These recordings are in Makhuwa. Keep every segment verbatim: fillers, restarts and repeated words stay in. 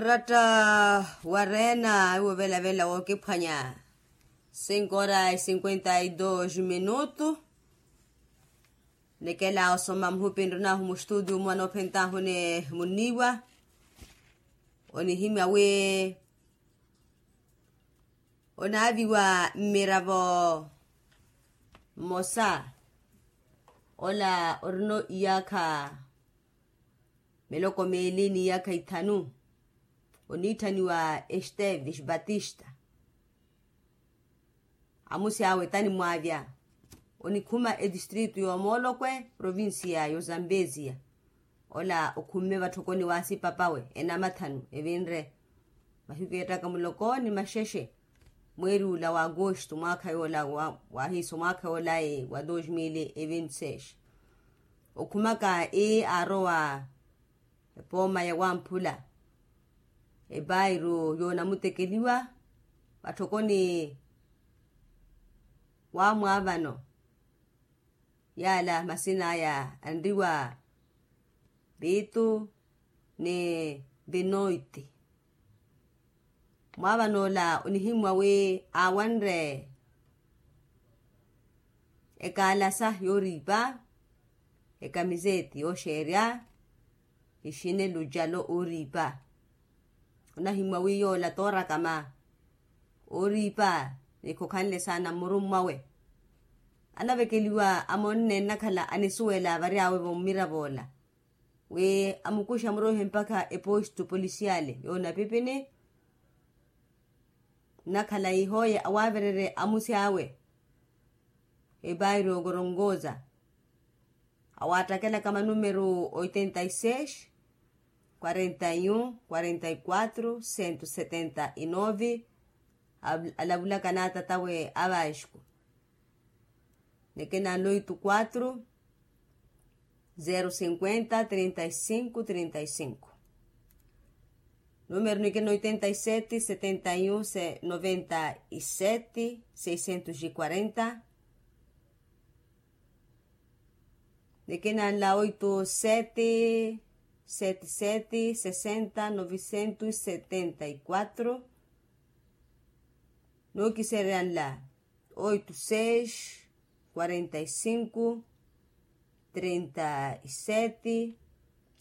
Oratta wa reena iwo velavela wookiphwanya. Cinco horas e cinquenta e dos minutu. Nikela osoma muhupi nrinahu mustudio mwa noophentahu ni muniiwa. Onihimya wi onaaviwa mmiravo mmosa ola orino iyaakha miloko miili ni iyaakha ithanu, oniitthaniwa esteves batista. Amusi awe tanimwaavya. Onikhuma etistritu y'omoolokwe provincia y'ozambesia. Ola okhumme vatthokoni w'asipapawe enamathanu evinre mahiku eettaka muloko ni maxexe. Mweeri ula wa agosto mwaakha yoola wahiiso mwaakha yoola wa dos mil e vinti seis. Okhumaka ii aarowa epooma ya wamphula epairu yoonamutekeliwa vatthokoni wamwaavano. Yaala masina aya anriwa pitu ni pinoiti. Mwaavan'ola onihimmwa wi aawanre ekaalasa yooriipa, ekamiseti yooxeerya, ixinelu calo ooriipa. Onahimmwa wi yoola toorakama ooriipa ni khokhanle saana mmurummwawe. Anavekeliwa amonne nnakhala anisuwela varyawe vommirav'ola wi amukuxa muroihe mpakha epostu polisiale y'onapipini. Nnakhala ihooye awaavererye amusi awe epairu y'okoronkoza. Awaattakela ka manumeru oitenta y seis, quarenta y un, quarenta y quatro, cento setenta y nove. Alavulaka n'atatawe a vasco. Nikina nlo oito quatro, zero cinquenta trinta y cinco trinta y cinco. Numeru nikina oitenta y sete setenta y un noventa y sete seiscentos y quarenta. Nikina nla oito sete sete sete sesenta novicentos setenta y quatro. Nookiserya nla oito seis quarenta y cinco trinta y sete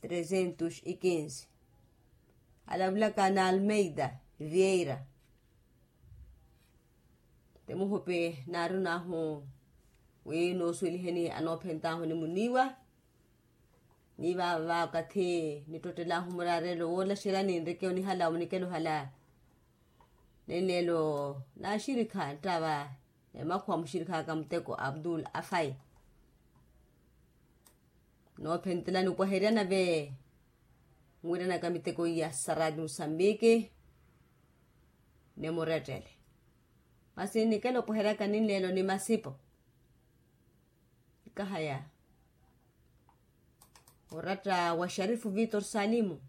trezentos y quinze. Alavulaka na almeida vieira. Ti muhupi naarunahu wi noosuweliheni anoophentahu ni muniiwa. Ni vaava vakathi nittottelahu muraarelo woolaxerya ninreke onihala munikelo ohala. Nenleelo naaxirikha nttava emakhuwa muxirikhaka muteko abdul afai. Noophentela nipwaherya nave nwiiranaka miteko iya sa radio musambiki. Nimurettele masi nikelo opweheryaka ninleelo ni masipo. Nikahaya oratta wa sharifu vitor salimu.